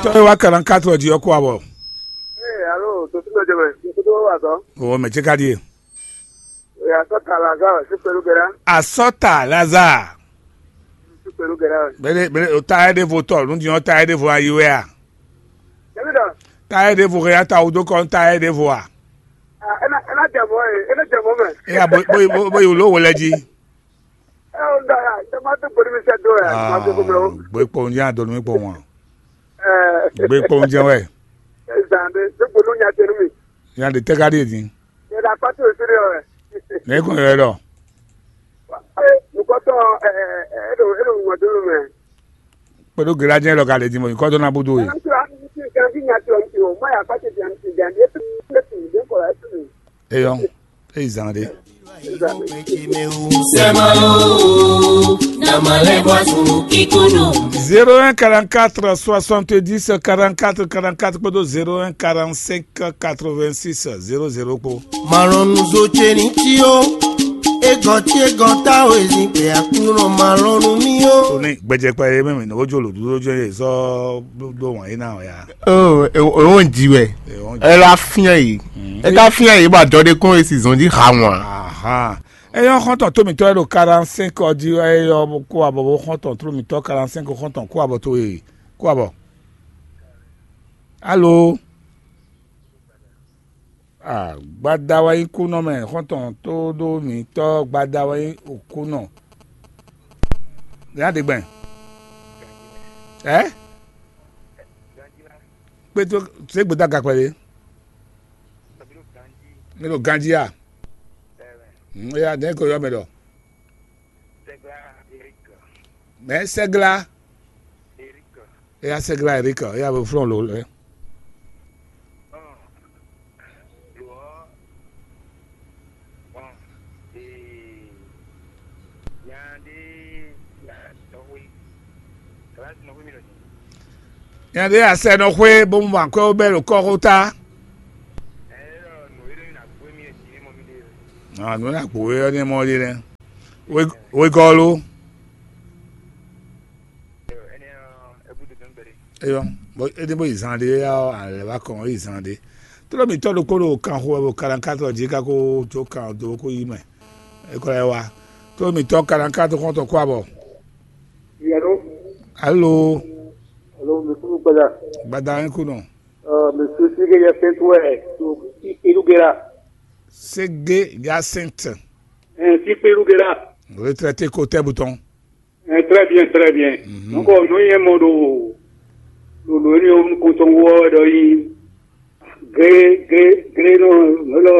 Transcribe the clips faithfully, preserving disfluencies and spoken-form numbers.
Tɔ́ e wá quarante-quatre jí ɔ́ kó abɔ. Ee, alo, to tún jɛ mɛ, to tún wá zɔ. O mɛ ce ka ɖie. Ee, asɔta Lazare, si pelu gɛra. Asɔta Lazare. Si pelu gɛra. Bele bele o ta ɛ ɖe vo tɔ, nu di ɔn ta ɛ ɖe vo ayi wɛ a. Ebi dɔ. Ta ɛ ɖe vo hɛ ya ta o do kɔ ta ɛ ɖe vo a. Ah, ena ena jɛ mɔ e, ena jɛ mɔ mɛ. Eya bo bo bo bo yi lo wo lɛ ji. Ɛ o da ya, jɛ ma to gbori mi sɛ do ya, ma to gbori o. Gbe kpɔn ya do mi kpɔn wa. Ɛ. Gbe kpɔn jɛ wɛ. Ɛ zan de, to gbori nya tenu mi. Ya de tɛ ka ɖie din. Ɛ da kpati o siri o. Ne ko yɛ dɔ. Nukɔtɔ ɛ ɛ ɛ do ɛ do ŋɔ do mɛ. Kpɛɖó gɛlɛjɛ lɔ ka lɛ din mɔ nyikɔ dɔ na búdó ye. Eyɔ, eyi zan ɖe. Sema o, na malé boisson kikunu. Zéro un quarante-quatre soixante-dix quarante-quatre quarante-quatre kpódó zéro un quarante-cinq quatre-vingt-six zéro zéro kpó. Malɔnu zo ce ní cí ó, égɔn cí égɔn táwo ezin kpɛ Aklúnɔ malɔnu mì ó. Tó ní gbɛjɛkpɛ yé mɛ mi ní wójú olùdúró jẹ́ yé sɔ dó wọ̀nyí náà ya. Ó, ó ń jí wɛ. Ẹ lá fín ẹ yìí. Ẹ ká fín ẹ yìí bá jɔ dé kún èsì zɔn jí ha wọn. Ahan. Eyɔ xɔntɔn tómitɔ e ɖo quarante-cinq ɔ jí, eyɔ kó abɔ bó xɔntɔn tómitɔ quarante-cinq xɔntɔn kó abɔ tó e kó abɔ. Alo. Ah, gbada wɛ nyí kúnɔ mɛ, xɔntɔn tó ɖó mǐtɔn gbada wɛ nyí kúnɔ. Nya ɖe gbɛn. Ɛ? Kpétó, zé gbédá gakpɛ ɖé. Mi ɖo ganjí a? Nya ɖe ko yɔ mɛ ɖɔ. Mɛ sɛgla. Eya sɛgla Eric, eya bo flɔ́n lo lɛ. Nya ɖé asɛ nɔ xwé bó mu akwɛ́ bɛ́ ɖo kɔ́xota. Nǔ e na gbo we ɔ́ ní mɔ ɖi nɛ́. Wegɔ́ lo. Eyɔ, bɔ é ɖi bó yi zan ɖé ya ɔ́, alɛ wá kɔn yi zan ɖé. Tló mǐtɔn ɖokpó ɖo kan xo wɛ ɖo kalankátɔ jí káko jó kan dó kó yí mɛ. É kɔ lɛ́ wá. Tló mǐtɔn kalankátɔ xɔ́ntɔn kó abɔ. Yɛlo. Alo. Alo, mi kúrú gbada. Gbada ń kú nɔ. Ɔ, mi su sí ke yɛ fɛn tó wɛ, su sí pelu gera. Sege Jacinthe. Ɛ, sí pelu gera. Retraité ko tɛ butɔn. Ɛ, très bien, très bien. Mhm. Donc, nú yẹn mɔ ɖo ɖo ɖo énɛ́ ɔ́ nukɔn tɔn wú ɔ́ ɖɔ yí gré gré gré nɔ nɔ lɔ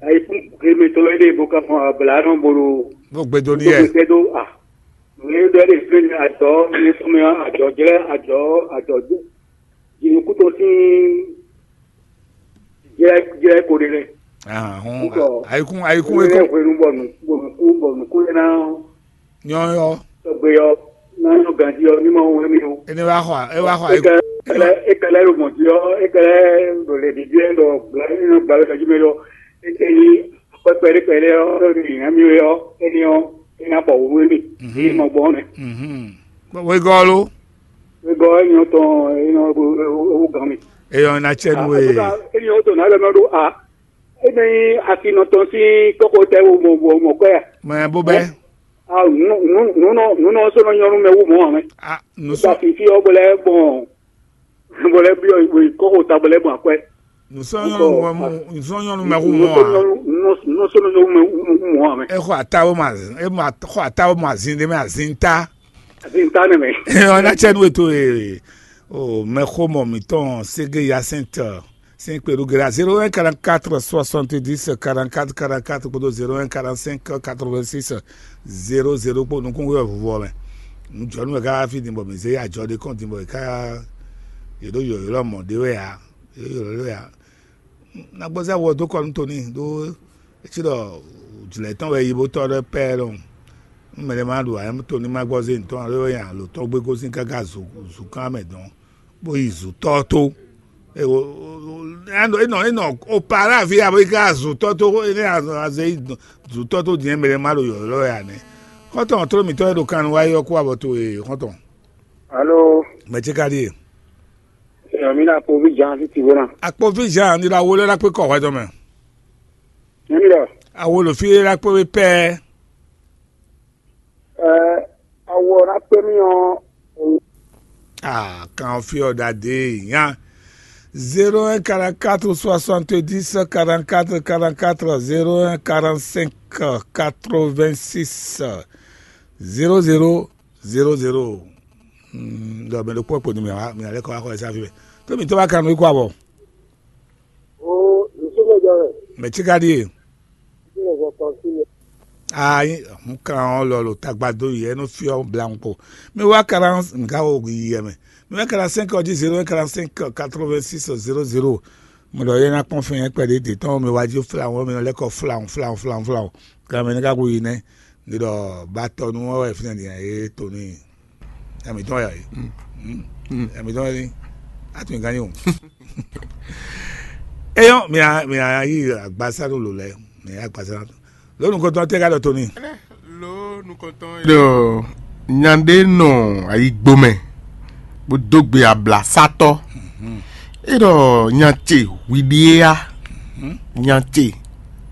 ayikún gré mɛ tɔn é ɖe bó ká fɔn abla nɔ bo ɖo. Bó gbe dó ní yɛ. Gbèsè ɖó a nǔ é ɖɔ é ɖe fún mi ajɔ mi sɔmɛ ajɔ jlɛ ajɔ ajɔ jɛ jìnnìkú tɔn sín jlɛ jlɛ ko ɖe lɛ. Ahɔn Ŋutɔ. Ayikún ayikún Kúrú é yɛ kɔ. Hwenu bɔ nǔ bɔ nǔkú bɔ nǔkú yɛ ná Nyɔyɔ. Tɔgbe ɔ, ná nyɔ ganjí ɔ, ní ma wɛ mi o. Ene wa xɔ e wa xɔ e kɛlɛ e kɛlɛ ɖo mɔ̌ jí ɔ, e kɛlɛ ɖo lě ɖiɖi ɛ ɖɔ gbla ní nɔ gbla lɛ tɔjú mɛ ɖɔ e kɛ yi kpɛkpɛ ɖé kpɛ ɖé ɔ, ɖo ní hɛn mi wɛ ɔ, éní ɔ, é ná bɔ wúwú mi. Mhm. É nɔ gbɔ mɛ. Mhm. Wegɔ́ lo. Wegɔ́ éní ɔ tɔn éní ɔ wú gan mi. Eyɔ na tsɛ nu e. Éní ɔ tó ná lɛ mɛ ɖo a. Éní asi nɔ tɔn sín kɔkɔ tɛ wo mɔ mɔ mɔ kɔɛ. Mɛ bó bɛ. Ah, nunɔ nunɔ sɔnɔ nyɔnu mɛ wu mɔ amɛ. Ah, nusɔ. Ba fifi ɔ bɔlɛ gbɔn bɔlɛ bi ɔ kɔkɔ ta bɔlɛ gbɔn akwɛ. Nusɔ nyɔnu mɛ mu nusɔ nyɔnu mɛ wu mɔ a. Nunɔ sɔnɔ nyɔnu mɛ wu mɔ amɛ. E xɔ atawo ma e ma xɔ atawo ma zin de mɛ azin ta. Azin ta ne mɛ. Ɔna tsɛ nu eto ee. O mɛ xɔ mɔ mitɔn sege yasɛntɔ. Sin kpé ɖó géré zéro un quarante-quatre soixante-dix quarante-quatre quarante-quatre kpódó zéro un quarante-cinq quatre-vingt-six zéro zéro kpó nukún wɛ vuvɔ mɛ. Nujɔnu wɛ ká fí din bɔ mǐ zé ajɔ ɖé kɔn din bɔ è ká yě ɖó yɔ̌ylɔ́ mɔ̌ ɖé wɛ ǎ. Yě ɖó yɔ̌ylɔ́ wɛ ǎ. Nagbɔzá wɔ dó kɔ nú Toni ɖó é cí ɖɔ jlɛ̌ tɔn wɛ yi bó tɔ́ ɖɔ pɛ́ ɖɔhun. Nú mɛɖé ma ɖu ǎ, Toni ma gbɔ zé ntɔ́n alo é wɛ nya lǒ tɔn gbé gosín káká zukán mɛ dɔn. Bó yi zǔtɔ́ tó. Enɔ enɔ opara aví abo yi ká zǔtɔ́ tó, énɛ́ azɔ azɛ yi zǔtɔ́ tó din mɛ ma ɖo yɔ̌yɔ́ wɛ ǎ nɛ́. Xɔ́ntɔn tló mǐtɔn e ɖo kan nu wá yi ɔ́ kú abɔ towe xɔ́ntɔn. Alo. Mɛ ce ka ɖíe? Yɔmina kpovi Jean Fitiwena. Akpovi Jean ni la wo lɛ la kpe kɔ hwɛ dɔmɛ. Yɔmina. Awo lo fi la kpe we pɛ. Ɛ, awɔ na kpe mi ɔ. Ah, kan fi ɔ da de nya. Zéro un quarante-quatre soixante-dix quarante-quatre quarante-quatre, zéro un quarante-cinq quatre-vingt-six zéro zéro zéro zéro. Hmm, donc, mais le point pour numéro, mais allez quoi quoi ça fait. To mi to ba kan wi kwa bɔ. O, nsúmɔjɔ rẹ̀. Mɛ tí ka ɖíe. Nsúmɔjɔ kan sí mi. Aa, un kan ɔ́ lɔ lo tagba dó yi ɛnu fyɔ blanco. Mi wa quarante nga o yi yɛ mɛ. Mi wa quarante-cinq ɔdi zéro un quarante-cinq quatre-vingt-six zéro zéro. Mo ɖɔ yɛ na kpɔn fɛn yɛ kpɛɖé de tɔn mi wa jí fla wɔn mi lɛ kɔ fla fla fla fla. Kan mɛ ne ka ko yi nɛ. Ni ɖɔ ba tɔ nu wɛ fɛnɛ ni e to ni. Ɛmɛ tɔn yɛ. Ɛmɛ tɔn yɛ. Atu nyi ganyi o. Eyɔn, mi a mi a yi agbasa ɖo lo lɛ, mi a yi agbasa ɖo lo nukɔntɔn tɛ ka ɖɔ to ni. Lo nukɔntɔn ɖɔ nyaɖe nɔ ayigbomɛ bó dó gbe ablasatɔ. E ɖɔ nyatse hwiɖie ya. Nyatse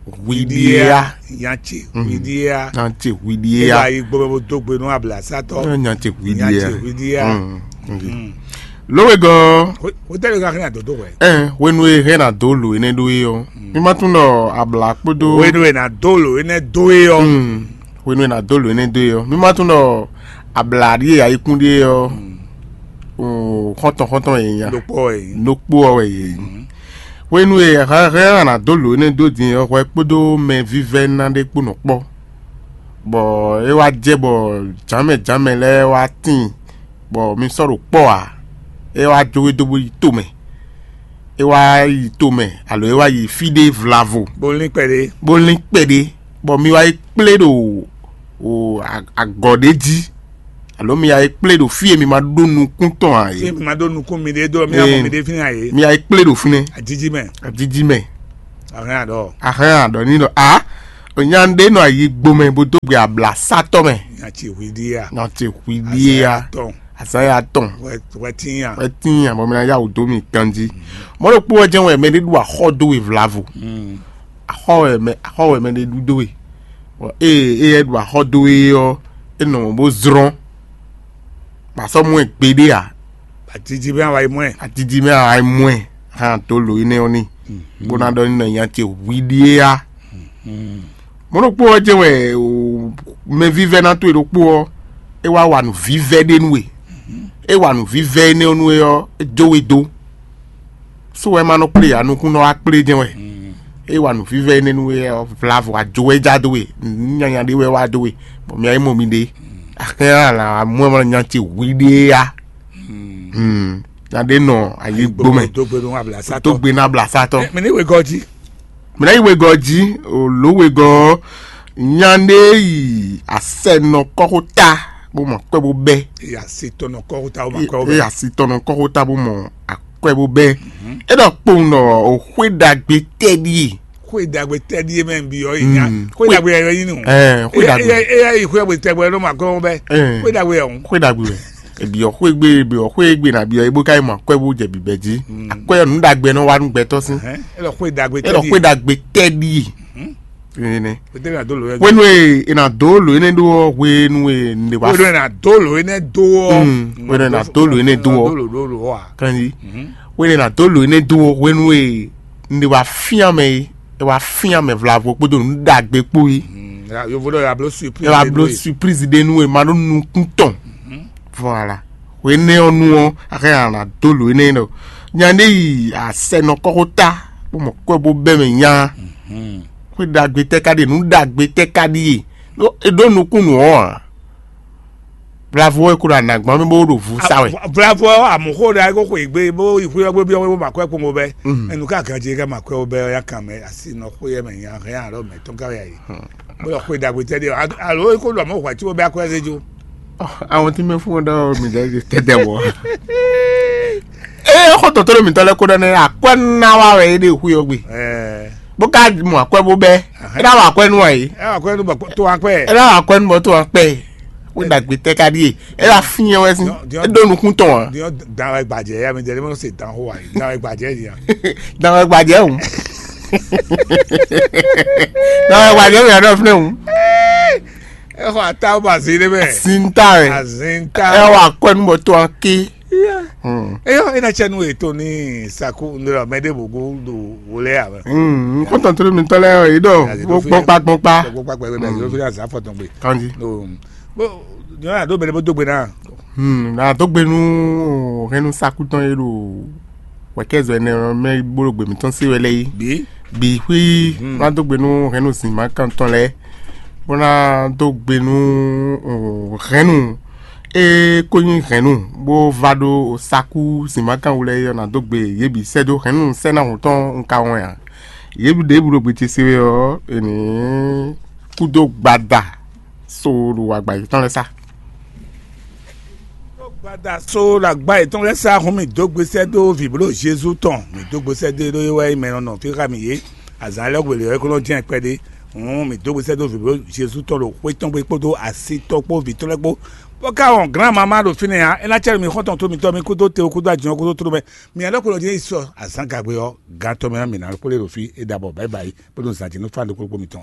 hwiɖie ya. Nyatse hwiɖie ya. Nyatse hwiɖie ya. E ɖɔ ayigbomɛ bó dó gbe nú ablasatɔ. Nyatse hwiɖie ya. Nyatse hwiɖie ya. Lówegɔ. Wotɛli ka hɛn adodo wɛ. Ɛn hwenu e hɛn ado lo enɛ ɖó e ɔ, mi ma tún ɖɔ abla kpódó. Hwenu e na do lo enɛ do e ɔ. Hwenu e na do lo enɛ do e ɔ, mi ma tún ɖɔ abla ɖi e ayikún ɖi e ɔ. Xɔntɔn xɔntɔn yɛ nya. Dokpɔ wɛ yi. Dokpɔ wɛ yi. Hwenu e hɛn hɛn ana do lo enɛ dó din ɔ, hwɛ kpódó mɛ vívɛ́ná ɖé kpó nɔ kpɔ. Bɔ é wá jɛ bɔ jǎnmɛ jǎnmɛ lɛ́ɛ wá tíin, bɔ mi sɔ́ ɖo kpɔ́ ǎ. É wá jó we dó bó yi tomɛ. É wá yi tomɛ alo é wá yi fí ɖé vlavo. Bó lín kpɛɖé. Bó lín kpɛɖé, bɔ mi wá yi kplé ɖo o a- agɔ ɖé jí, alo mi wá yi kplé ɖo fí e mi ma ɖó nukún tɔn ǎ Fí é. Mi ma ɖó nukún mi ɖé dó mi amɔ mi ɖé fínɛ́ ǎ é. Mi wá yi kplé ɖo fínɛ́. Adídí mɛ. Adídí mɛ. Ahɛn aɖɔ. Ahɛn aɖɔ ní ɖɔ a nya ɖé nɔ ayi gbomɛ bó dó gbe abla sátɔ mɛ. Nya ce hwi ɖíe a. Nya ce hwi ɖíe a. Tɔn. Azaya tɔn. Wɛ wɛ tinya. Wɛ tinya bɔ mi na ya wò dó mi ganji. Mɔ ɖo kpó wɛ jɛn wɛ mɛ ɖé ɖu axɔ dó we vlavo. Axɔ wɛ mɛ axɔ wɛ mɛ ɖé ɖu dó we. Bɔ eye eye ɖu axɔ dó we ɔ, e nɔ bó zrɔn. Ba sɔ mɔ ɛ gbeɖé a. Atiti mɛ awa yi mɔ ɛ. Atiti mɛ awa yi mɔ ɛ. Hã tó lo yi nɛ ɔ ni. Bó ná ɖɔ ní nɔ nya ce hwi ɖíe a. Mɔ̌ ɖokpó ɔ́ jɛ́n wɛ o mɛvívɛ́ná towe ɖokpó ɔ́, é wá wa nǔvívɛ́ ɖé nú we. É wa nǔvívɛ́ énɛ́ ɔ́ nú we ɔ́, é jó we dó. Sú wɛ ma nɔ kplé ǎ, nukúnnɔ wá kplé jɛ́n wɛ. É wa nǔvívɛ́ énɛ́ nú we ɔ́, vlavo ajo wɛ é já dó we, nǔ nyanya ɖé wɛ wá dó we, bɔ mi wá yi mɔ mi ɖe. Axɛ́ alǎ amú ɛ ma nya ce hwi ɖé á. Nya ɖé nɔ ayǐ gbó mɛ. Dó gbe nú ablasátɔ. Dó gbe nú ablasátɔ. Mɛ ní wegɔ́ jí. Mɛ ní wegɔ́ jí, o lǒ wegɔ́ ɔ́, nya ɖé yi asɛ nɔ kɔ́xota bó mɔ akwɛ́ bó bɛ́. Eya si tɔnɔ kɔ́xota bó mɔ akwɛ́ bó bɛ́. Eya si tɔnɔ kɔ́xota bó mɔ akwɛ́ bó bɛ́. É ɖɔ kpowun ɖɔ o xwé ɖagbe tɛ́ ɖíe. Xwé ɖagbe tɛ́ ɖíe mɛ bi ɔ́ yi nya. Xwé ɖagbe yɛ yɛ yín nù. Ɛɛ, xwé ɖagbe. Eya yi xwé ɖagbe tɛ́ bɔ ɛ ló ma kɔ́ bɛ́. Ɛɛ. Xwé ɖagbe yɛ hɔn. Xwé ɖagbe wɛ. Ebiɔ xwé gbe ebiɔ xwé gbe na biɔ ebo ka yi mɔ akwɛ bo jɛ bibɛ jí. Akwɛ nú ɖagbe nɔ wa nú gbɛtɔ sín. Ɛ lɔ xwé ɖagbe tɛ́ ɖíe. Ɛlɔ xwé ɖagbe tɛ́ ɖíe. Nene. Pété na dó lò yɛ. Wenu e e na dó lò ene ɖó ɔ hwenu e ne wa. Wenu e na dó lò ene dó ɔ. Wenu e na dó lò ene dó ɔ. Dó lò dó lò ɔ a. Kanji. Wenu e na dó lò ene dó ɔ hwenu e ne wa fían mɛ e e wa fían mɛ vlavo kpódó nǔ ɖagbe kpó yi. Yovo ɖɔ yablo surprise. E wa blo surprise ɖe nú e ma ɖó nukún tɔn. Voilà. Hwenɛ́ ɔ́ nu ɔ́, axɛ ana dó lǒ énɛ́ ɖɔ nya ɖé yi asɛ nɔ kɔ́xota bó mɔ kɔ́ bó bɛ́ mɛ nya. Xwé ɖagbe tɛ́ ka ɖíe, nǔ ɖagbe tɛ́ ka ɖíe. Ɖó e ɖó nukúnnú ɔ́ ǎ. Vlavo ɔ́ e ko ɖo anǎgbán mɛ bó ɖo vǔ sa wɛ. Vlavo ɔ́ amǔxó ɖa é ko xwe gbe bó yi xwé ɔ́ gbé byɔ́ bó ma kwɛ́ kpowun bó bɛ́. Ɛnu ká ganjí é ká ma kwɛ́ bó bɛ́ ɔ́ yá kan mɛ asi nɔ xwé ɛ mɛ nya hɛn alɔ mɛ tɔn ká wɛ ayi. Bó lɔ xwé ɖagbe tɛ́ ɖíe alo é ko ɖɔ mɔ̌ hwɛ̌ có bɛ́ akwɛ́ zé jó. Àwọn tí mɛ fún wọn dá mi dá tẹ́tẹ́ wọ. Ee xɔ tɔtɔ ɖo mǐtɔn lɛ́ɛ kó ɖɔ nɛ akwɛ́ ná wa wɛ é ɖe xwé ɔ́ gbe. Bó ká mɔ akwɛ́ bó bɛ́. É ná wa akwɛ́ nú wa yìí. Ɛ akwɛ́ nú bɔ tó wa kpɛ. É ná wa akwɛ́ nú bɔ tó wa kpɛ. Wé ɖagbe tɛ ka ɖíe? É wá fín wɛ sín. Diɔ- diɔ- É ɖó nukún tɔn wá. Diɔ dan wɛ gbajɛ ya mi dɛlɛ mɔ se dan ho wa yi dan wɛ gbajɛ ya. Dan wɛ gbajɛ o. Dan wɛ gbajɛ o yà ɖɔ fúnɛ o. Ɛ xɔ ata o ba zi ɖe mɛ. Zinta wɛ. Azinta. Ɛ wà kɔ ẹnu bɔ tó a ké. Eyɔ ena tsɛ nu eto ni saku ndra mɛ ɖe bogo do wòlɛ ya mɛ. N kɔntɔn tó mi tɔ lɛ yìí dɔ. Bó gbɔn kpa gbɔn kpa. Gbɔn kpa gbɛ bɛ yóò fi azan fɔtɔn gbe. Kandi. Bó nyɔrɔ àdó bɛlɛ bó dó gbe náà. Hmm, na dó gbe nú hɛnnu sakú tɔn yé ɖo wɛkɛzɔ ɛnɛ mɛ bó ɖo gbèmí tɔn sí wɛ lɛ yí. Bí. Bí xwí na dó gbe nú hɛnnu zǐnmákan tɔn lɛ, bó ná dó gbe nú hɛnnu e kó nyí hɛnnu bó va ɖo sakú zǐnmákan wú lɛ yí ɔ́ ná dó gbe yě bǐ sɛ́ dó hɛnnu sɛ́ ná hǔn tɔn un ka wɔn ǎ. Yě bǐ ɖěbǔ ɖo gbe ce se wɛ ɔ́, è nǐ kúdó gbada so ɖo agbayi tɔn lɛ́ɛ sá. Gbada so ɖo agba yětɔn lɛ́ɛ sá hun mì dó gbesɛ dó vǐbló Jezu tɔn. Mì dó gbesɛ dó ɖó é wɛ nyí mɛ nɔ nɔ fí xá mì yě. Azǎn lɛ́ɛ hwelě wɛ kó nɔ jɛ́n kpɛɖé. Hǔn mì dó gbesɛ dó vǐbló Jezu tɔn ɖo xwé tɔn gbe kpódó asi tɔn kpó vǐ tɔn lɛ́ɛ kpó. Bó ka wɔn glǎn mamá ɖo fínɛ́ ǎ, é ná cɛ́ nú mi xɔ́ntɔn tó mitɔn mi kúdó te kúdó ajínɔ kúdó tló mɛ. Mi ǎ ɖɔ kó nɔ jɛ́n yi sɔ azǎn gagbe ɔ́, gantɔ́ mɛ ɔ́, mǐ ná kplé ɖo fí é ɖabɔ bǎyibǎyi, bó ɖo zǎn jí nú fán ɖokpó ɖokpó mitɔn.